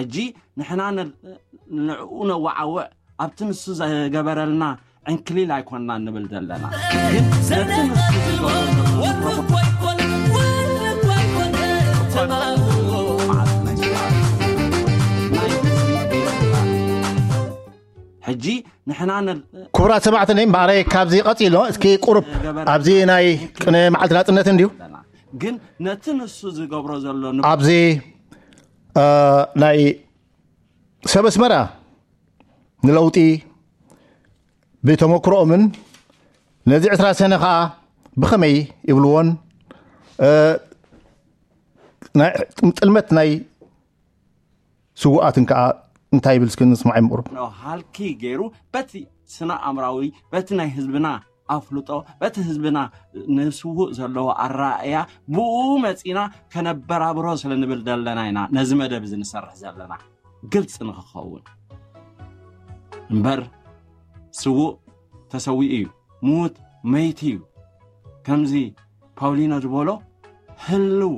ሕጂ ንሕና ንዕኡ ነዋዓውዕ ኣብቲ ንሱ ዘገበረልና ዕንክሊል ኣይኮንና ንብል ዘለና፣ ግን ነቲ ንሱ ዝገበረልና ሕጂ ንሕና ክቡራት ሰማዕትኒ፣ እምበኣረይ ካብዚ ቀፂሎ እስኪ ቁሩብ ኣብዚ ናይ ቅነ መዓልቲ ናፅነት እንድዩ ግን ነቲ ንሱ ዝገብሮ ዘሎ ኣብዚ ናይ ሰብ ኣስመራ ንለውጢ ብተመክሮኦምን ነዚ ዕስራ ሰነ ከዓ ብኸመይ ይብልዎን ጥልመት ናይ ስውኣትን ከዓ እንታይ ይብል እስኪ ንስማዕ ይምቕሩ። ሃልኪ ገይሩ በቲ ስነ ኣእምራዊ በቲ ናይ ህዝብና ኣፍልጦ በቲ ህዝብና ንስውእ ዘለዎ ኣረኣእያ ብኡ መፂና ከነበራብሮ ስለ ንብል ዘለና ኢና ነዚ መደብ እዚ ንሰርሕ ዘለና ግልፂ ንክኸውን እምበር ስውእ ተሰዊኡ እዩ፣ ምዉት መይቲ እዩ። ከምዚ ፓውሊኖ ዝበሎ ህልው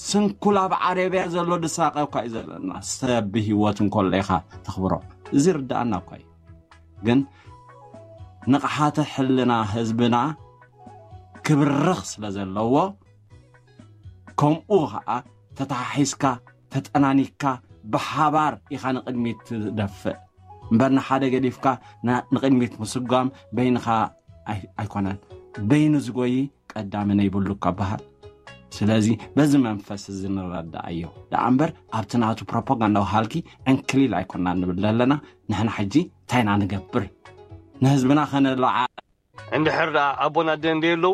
ስንኩል ኣብ ዓረብያ ዘሎ ድሳቀ እኳ እዩ ዘለና። ሰብ ብህይወት እንከሎ ኢኻ ተኽብሮ። እዚ ርድኣና እኳ እዩ። ግን ንቕሓተ ሕልና ህዝብና ክብርኽ ስለ ዘለዎ ከምኡ ኸዓ ተተሓሒዝካ ተጠናኒካ ብሓባር ኢኻ ንቕድሚት ትደፍእ እምበር ንሓደ ገዲፍካ ንቕድሚት ምስጓም በይንኻ ኣይኮነን። በይኑ ዝጎይ ቀዳሚ ነይብሉ እካ በሃል። ስለዚ በዚ መንፈስ እዚ ንረዳኣዮ ደኣ እምበር ኣብቲ ናቱ ፕሮፓጋንዳዊ ሃልኪ ዕንክሊል ኣይኮና ንብል ዘለና። ንሕና ሕጂ እንታይ ኢና ንገብር? ንህዝብና ከነለዓ እንድሕር ደኣ ኣቦን ኣደን ደየለዉ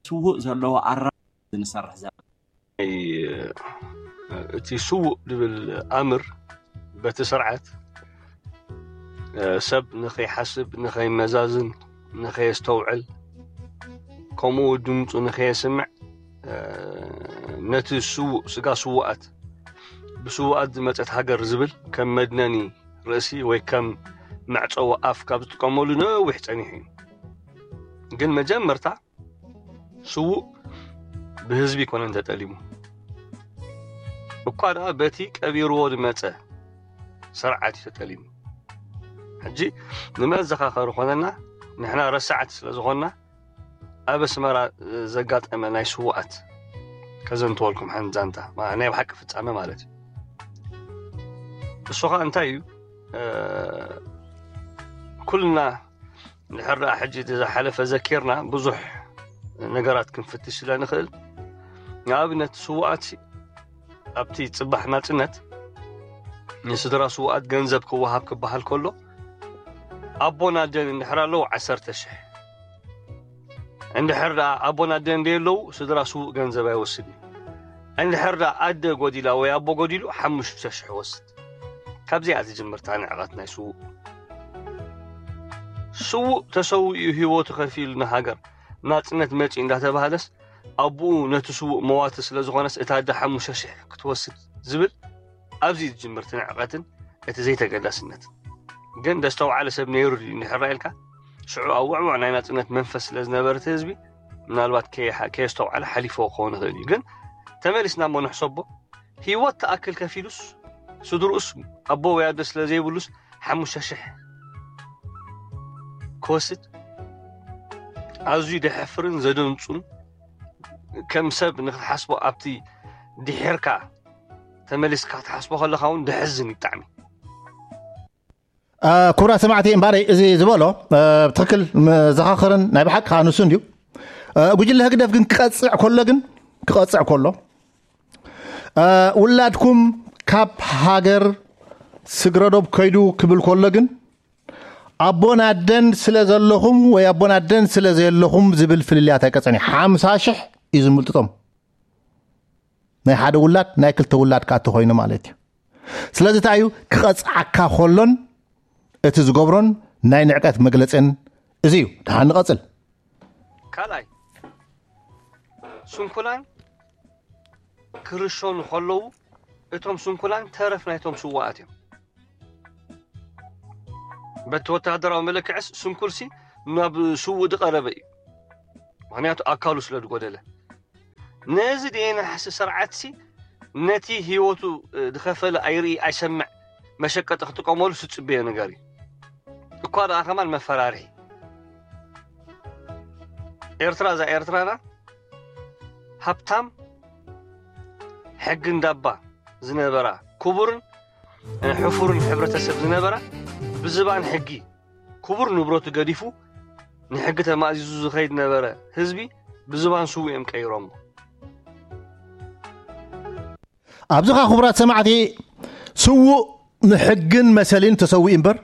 ስውእ ዘለዎ ኣራ ንሰርሕ ዘለና። እቲ ስውእ ድብል ኣምር በቲ ስርዓት ሰብ ንኸይሓስብ ንኸይመዛዝን ንኸየስተውዕል ከምኡ ድምፁ ንኸየስምዕ ነቲ ስውእ ስጋ ስውኣት ብስውኣት ዝመፀት ሃገር ዝብል ከም መድነኒ ርእሲ ወይ ከም መዕፀዊ ኣፍ ካብ ዝጥቀመሉ ነዊሕ ፀኒሑ እዩ። ግን መጀመርታ ስዉእ ብህዝቢ ኣይኮነን ተጠሊሙ፣ እኳ ደኣ በቲ ቀቢርዎ ዝመጸ ስርዓት እዩ ተጠሊሙ። ሕጂ ንመዘኻኸሪ ኮነና፣ ንሕና ረሳዕቲ ስለ ዝኾንና፣ ኣብ ኣስመራ ዘጋጠመ ናይ ስዉኣት ከዘንትወልኩም ሓንቲ ዛንታ፣ ናይ ብሓቂ ፍጻመ ማለት እዩ። እሱ ኸኣ እንታይ እዩ? ኩልና እንድሕር ደኣ ሕጂ እቲ ዝሓለፈ ዘኪርና ብዙሕ ነገራት ክንፍትሽ ስለ ንኽእል፣ ንኣብነት ስዉኣት ኣብቲ ጽባሕ ናጽነት ንስድራ ስዉኣት ገንዘብ ክወሃብ ክበሃል ከሎ ኣቦን ኣደን እንድሕር ኣለዉ ዓሰርተ ሽሕ፣ እንድሕር ደኣ ኣቦን ኣደን ደየለዉ ስድራ ስዉእ ገንዘብ ኣይወስድን እዩ። እንድሕር ደኣ ኣደ ጎዲላ ወይ ኣቦ ጎዲሉ ሓሙሽተ ሽሕ ወስድ። ካብዚኣ ትጅምር እታ ንዕቐት ናይ ስዉእ። ስዉእ ተሰዊኡ ህይወቱ ከፊሉ ንሃገር ናጽነት መጺኡ እንዳተባህለስ ኣቦኡ ነቲ ስዉእ መዋቲ ስለ ዝኾነስ እታ ኣደ ሓሙሽተ ሽሕ ክትወስድ ዝብል ኣብዚ ትጅምር እቲ ንዕቐትን እቲ ዘይተገዳስነትን። ግን ዘስተውዓለ ሰብ ነይሩ ድዩ እንድሕር ኢልካ ሽዑ ኣብ ውዕዉዕ ናይ ናጽነት መንፈስ ስለ ዝነበረ እቲ ህዝቢ ምናልባት ከየስተውዓለ ሓሊፍዎ ክኸውን ይኽእል እዩ። ግን ተመሊስና እሞ ንሕሰቦ ህይወት ትኣክል ከፊሉስ ስድርኡስ ኣቦ ወይ ኣደ ስለ ዘይብሉስ ሓሙሽተ ሽሕ ክወስድ ኣዝዩ ደሕፍርን ዘደንጹን ከም ሰብ ንክትሓስቦ ኣብቲ ድሒርካ ተመሊስካ ክትሓስቦ ከለኻ እውን ደሕዝን እዩ ብጣዕሚ። ክቡራት ሰማዕቲ እምባረይ እዚ ዝበሎ ብትክክል መዘኻኽርን ናይ ብሓቂ ከዓ ንሱ እንድዩ። ጉጅለ ህግደፍ ግን ክቐፅዕ ከሎ ግን ክቐፅዕ ከሎ ውላድኩም ካብ ሃገር ስግረዶብ ከይዱ ክብል ከሎ ግን ኣቦን ኣደን ስለ ዘለኹም ወይ ኣቦን ኣደን ስለ ዘየለኹም ዝብል ፍልልያት ኣይቀፅዕን እዩ። ሓምሳ ሽሕ እዩ ዝምልጥጦም ናይ ሓደ ውላድ ናይ ክልተ ውላድ ከዓ ተኮይኑ ማለት እዩ። ስለዚ እንታይ እዩ ክቐፅዓካ ከሎን እቲ ዝገብሮን ናይ ንዕቀት መግለፅን እዚ እዩ። ደሓን ንቐፅል። ካልኣይ ስንኩላን ክርሸኑ ከለዉ እቶም ስንኩላን ተረፍ ናይቶም ስዋኣት እዮም። በቲ ወተሃደራዊ መለክዕስ ስንኩልሲ ናብ ስውእ ዝቐረበ እዩ፣ ምክንያቱ ኣካሉ ስለ ዝጎደለ። ነዚ ደየናሕሲ ስርዓትሲ ነቲ ህይወቱ ዝኸፈለ ኣይርኢ ኣይሰምዕ መሸቀጢ ክጥቀመሉ ዝጽበዮ ነገር እዩ። እኳ ደኣ ከማን መፈራርሒ። ኤርትራ እዛ ኤርትራና ሃብታም ሕጊ እንዳባ ዝነበራ ክቡርን ሕፉርን ሕብረተሰብ ዝነበራ ብዝባን ሕጊ ክቡር ንብረቱ ገዲፉ ንሕጊ ተማእዚዙ ዝኸይድ ነበረ ህዝቢ ብዝባን ስውእ እዮም ቀይሮሞ። ኣብዚ ኸዓ ክቡራት ሰማዕቲ ስዉእ ንሕግን መሰልን ተሰዊኡ እምበር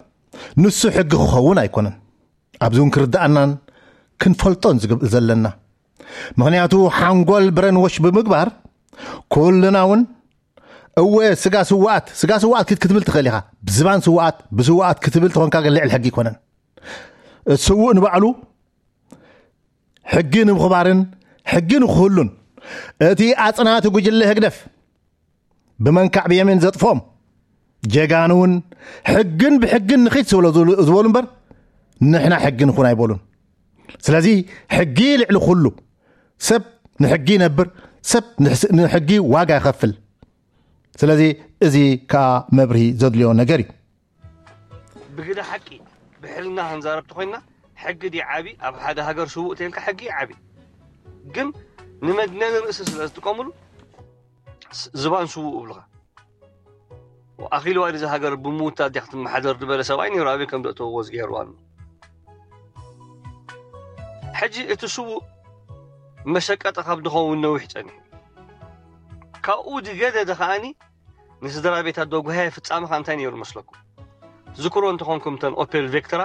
ንሱ ሕጊ ክኸውን ኣይኮነን። ኣብዚ እውን ክርድኣናን ክንፈልጦን ዝግብ- ዘለና ምኽንያቱ ሓንጎል ብረንወሽ ብምግባር ኩልና እውን እወ ስጋ ስዋኣት ስጋ ስዋኣት ክት ክትብል ትኽእል ኢኻ። ብዝባን ስዋኣት ብስዋኣት ክትብል ተኾንካ ግን ልዕል ሕጊ ኣይኮነን። እቲ ስዉእ ንባዕሉ ሕጊ ንምኽባርን ሕጊ ንክህሉን እቲ ኣጽናቲ ጉጅለ ህግደፍ ብመንካዕ ብየሜን ዘጥፍኦም ጀጋኑ እውን ሕግን ብሕግን ንኺድ ስብሎ ዝበሉ እምበር ንሕና ሕጊ ንኹን ኣይበሉን። ስለዚ ሕጊ ልዕሊ ኩሉ። ሰብ ንሕጊ ይነብር፣ ሰብ ንሕጊ ዋጋ ይኸፍል። ስለዚ እዚ ከዓ መብርሂ ዘድልዮ ነገር እዩ። ብግደ ሓቂ ብሕልና ክንዛረብ ተኾይንና ሕጊ ድዩ ዓቢ? ኣብ ሓደ ሃገር ስዉእ ተይልካ ሕጊ እዩ ዓቢ። ግን ንመድነኒ ርእሲ ስለ ዝጥቀምሉ ዝባን ስዉእ እብልኻ። ኣኺልዋ ድዚ ሃገር ብምውታ ዲያ ክትመሓደር ዝበለ ሰብኣይ ነይሩ ኣበይ ከም ዘእተውዎ ዝገይርዋ ኣሎ። ሕጂ እቲ ስዉእ መሸቀጢ ካብ ድኸውን ነዊሕ ጸኒሑ። ካብኡ ዝገደደ ከኣኒ ንስድራ ቤት ኣዶ ጉሃየ ፍጻመ ከኣ እንታይ ነይሩ መስለኩም? ዝክሮ እንተኾንኩም እተን ኦፔል ቬክትራ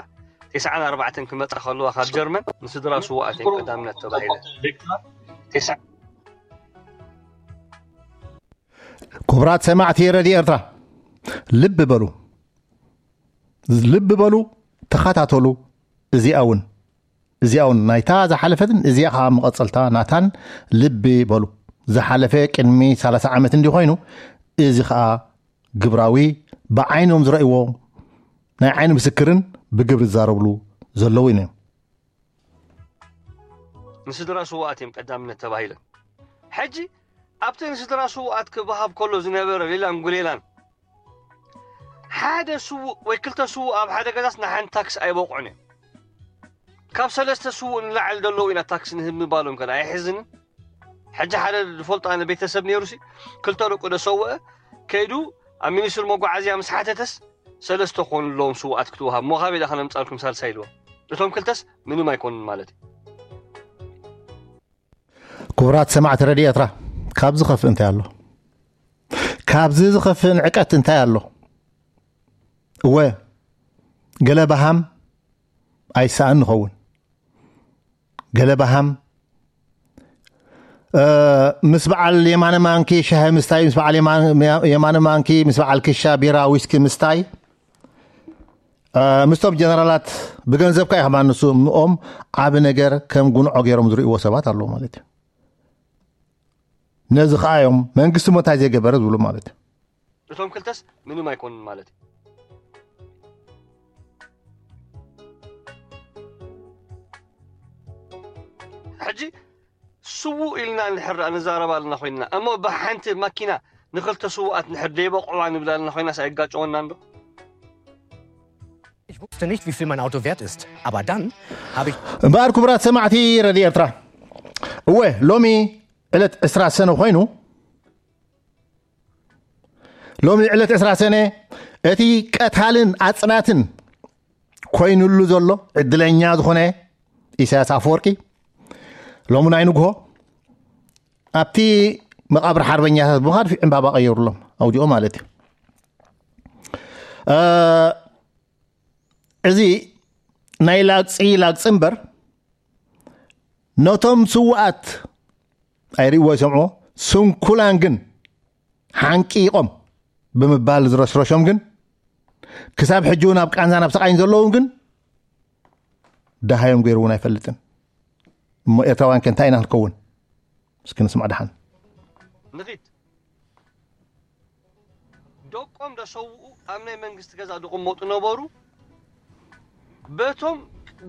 ተስዓን ኣርባዕተን ክመጻ ከለዋ ካብ ጀርመን ንስድራ ስዉኣት እየን ቀዳምነት ተባሂለን። ክቡራት ሰማዕቲ ረድዮ ኤርትራ ልቢ በሉ፣ ልቢ በሉ፣ ተኸታተሉ። እዚኣ እውን እዚኣ እውን ናይታ ዝሓለፈትን እዚኣ ከዓ መቐጸልታ ናታን ልቢ በሉ። ዝሓለፈ ቅድሚ ሰላሳ ዓመት እንዲ ኮይኑ እዚ ከዓ ግብራዊ ብዓይኖም ዝረእይዎ ናይ ዓይኒ ምስክርን ብግብሪ ዝዛረብሉ ዘለዉ እዮም። ንስድራ ስውኣት እዮም ቀዳምነት ተባሂለን። ሕጂ ኣብቲ ንስድራ ስውኣት ክበሃብ ከሎ ዝነበረ ሌላን ጉሌላን ሓደ ስውእ ወይ ክልተ ስውእ ኣብ ሓደ ገዛስ ንሓንቲ ታክስ ኣይበቕዑን እዮም። ካብ ሰለስተ ስውእ ንላዕሊ ዘለዉ ኢና ታክስ ንህብ ምባሎም ከ ኣይሕዝንን? ሕጂ ሓደ ዝፈልጦ ኣነ ቤተሰብ ነይሩሲ ክልተ ደቁ ደሰወአ ከይዱ ኣብ ሚኒስትር መጓዓዝያ ምስ ሓተተስ ሰለስተ ኮኑ ኣለዎም ስውኣት ክትወሃብ ሞኻበይ ዳ ከነምፃልኩም ሳልሳይ ኢልዎም እቶም ክልተስ ምንም ኣይኮኑን ማለት እዩ። ክቡራት ሰማዕቲ ረድዮ ኤርትራ ካብዚ ዝኸፍእ እንታይ ኣሎ? ካብዚ ዝኸፍእ ንዕቀት እንታይ ኣሎ? እወ ገለ በሃም ኣይሰኣን ንኸውን። ገለ በሃም ምስ በዓል የማነ ማንኪ ሻሂ ምስታይ ምስ በዓል የማነ ማንኪ ምስ በዓል ክሻ ቢራ ዊስኪ ምስታይ ምስቶም ጀነራላት ብገንዘብካ ኢኻ ማንሱ ምኦም ዓቢ ነገር ከም ጉንዖ ገይሮም ዝርእይዎ ሰባት ኣለዉ ማለት እዩ። ነዚ ከኣ እዮም መንግስቲ ሞታይ ዘይገበረ ዝብሉ ማለት እዩ። እቶም ክልተስ ምንም ኣይኮኑን ማለት እዩ። ሕጂ ስዉእ ኢልና ንድሕር ደኣ ንዛረብ ኣለና ኮይንና እሞ ብሓንቲ ማኪና ንኽልተ ስዉኣት ንድሕር ደይበቕዕዋ ንብል ኣለና ኮይናስ ኣይጋጨወናን ዶ? Ich wusste nicht, wie viel mein Auto wert ist. Aber dann habe ich እምበኣር ክቡራት ሰማዕቲ ረድዮ ኤርትራ እወ ሎሚ ዕለት ዕስራ ሰነ ኮይኑ ሎሚ ዕለት ዕስራ ሰነ እቲ ቀታልን ኣጽናትን ኮይኑሉ ዘሎ ዕድለኛ ዝኾነ ኢሳያስ ኣፈወርቂ ሎሚ ናይ ንግሆ ኣብቲ መቓብር ሓርበኛታት ብምኻድ ዕምባባ ቀየሩሎም ኣውዲኦ ማለት እዩ። እዚ ናይ ላግፂ ላግፂ እምበር ነቶም ስውኣት ኣይርእይዎ ይሰምዕዎ ስንኩላን ግን ሓንቂቖም ብምባል ዝረስረሾም ግን ክሳብ ሕጂ እውን ኣብ ቃንዛን ኣብ ስቓይን ዘለዉ ግን ደሃዮም ገይሩ እውን ኣይፈልጥን። እሞ ኤርትራውያን ከ እንታይ ኢና ክንከውን? እስኪ ንስማዕ ደሓን። ንኺድ ደቆም ደሰውኡ ኣብ ናይ መንግስቲ ገዛ ዝቕመጡ ነበሩ። በቶም